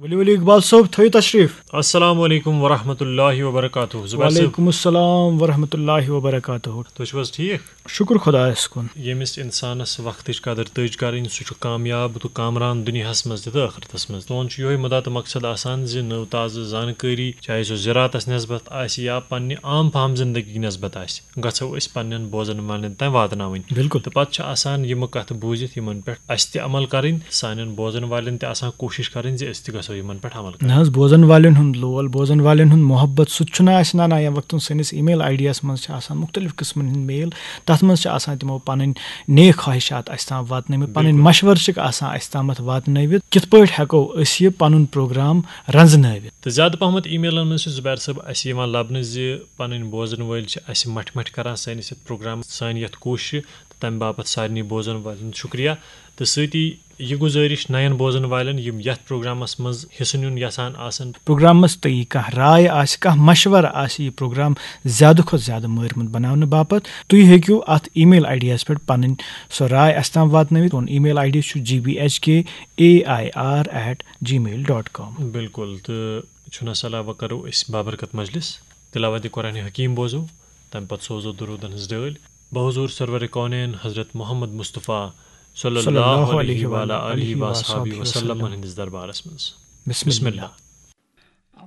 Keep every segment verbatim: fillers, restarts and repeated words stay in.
ؤلِو ؤلِو اقبال صٲب، تھٲیِو تشریٖف۔ السلام علیکم ورحمۃ اللہ وبرکاتہ۔ زبیر صٲب، وعلیکم السلام ورحمۃ اللہ وبرکاتہ۔ تُہۍ چھِو حظ ٹھیٖک؟ شُکُر خۄدایَس کُن۔ ییٚمِس اِنسانَس وقتٕچ قدٕر تٔج کَرٕنۍ، سُہ چھُ کامیاب تہٕ کامران دُنیاہَس منٛز تہِ تہٕ ٲخرتَس منٛز۔ سون چھُ یِہوٚے مُدا تہٕ مقصد آسان زِ نٔو تازٕ زانکٲری، چاہے سُہ زِراعتَس نٮ۪سبَت آسہِ یا پنٛنہِ عام فہم زندگی نٮ۪سبَت آسہِ، گژھو أسۍ پنٛنٮ۪ن بوزَن والٮ۪ن تام واتناوٕنۍ۔ بِلکُل۔ تہٕ پَتہٕ چھِ آسان یِمہٕ کَتھٕ بوٗزِتھ یِمَن پٮ۪ٹھ اَسہِ تہِ عمل کَرٕنۍ، سانٮ۪ن بوزَن والٮ۪ن تہِ آسان کوٗشِش کَرٕنۍ زِ أسۍ تہِ گژھو یِمَن پٮ۪ٹھ عمل کَرٕنۍ۔ نہ حظ، بوزَن والٮ۪ن ہُنٛد لول، بوزَن والٮ۪ن ہُنٛد محبت، سُہ تہِ چھُنہ اَسہِ نَنان۔ ییٚمہِ وقتہٕ سٲنِس email ID یَس منٛز چھِ آسان مُختٔلِف قٕسمَن ہٕنٛدۍ mail، تَتھ منٛز چھِ آسان تِمو پَنٕنۍ نیک خواہشات اَسہِ تام واتنٲومٕتۍ، پَنٕنۍ بِلکُل۔ مَشوَرٕ چھِکھ آسان اَسہِ تامَتھ واتنٲوِتھ، کِتھ پٲٹھۍ ہٮ۪کو أسۍ یہِ پَنُن program رَنٛزنٲوِتھ۔ تہٕ زیادٕ پَہمَتھ emailن منٛز چھِ زُبیر صٲب اَسہِ یِوان لَبنہٕ زِ پَنٕنۍ بوزَن وٲلۍ چھِ اَسہِ مَٹھِ مَٹھِ کَران سٲنِس یَتھ پروگرام، سانہِ یَتھ کوٗششہِ، تہٕ تَمہِ باپَتھ سارنٕے بوزَن والٮ۪ن ہُنٛد شُکریہ۔ تہٕ سۭتی یہِ گُزٲرِش نَیَن بوزَن والٮ۪ن، یِم یَتھ پروگرامَس منٛز حِصہٕ نیُن یَژھان آسَن۔ پروگرامَس تہٕ یہِ کانٛہہ راے آسہِ، کانٛہہ مَشوَرٕ آسہِ یہِ پروگرام زیادٕ کھۄتہٕ زیادٕ مٲرمُت بَناونہٕ باپَتھ، تُہۍ ہیٚکِو اَتھ email ID یَس پٮ۪ٹھ پَنٕنۍ سۄ راے اَسہِ تام واتنٲوِتھ۔ سون email ID چھُ G B H K A I R at gmail dot com۔ بِلکُل، تہٕ چھُنہٕ صلاح وۄنۍ کَرو أسۍ بابرکت مجلس، تلاوت قرآن حکیم بوزو، تَمہِ پَتہٕ سوزو درودن ہٕنٛز ڈٲلۍ بحضور سرور کونین حضرت محمد مصطفیٰ صلی صلی اللہ اللہ علیہ علیہ وعلی وعلی آلہ آلہ وصحابہ وصحبہ وسلم وسلم۔ ہٕنٛدِس دربارس منٛز۔ بسم بسم اللہ۔ اللہ۔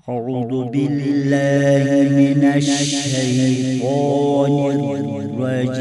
أعوذ بالله من الشيطان الرجيم.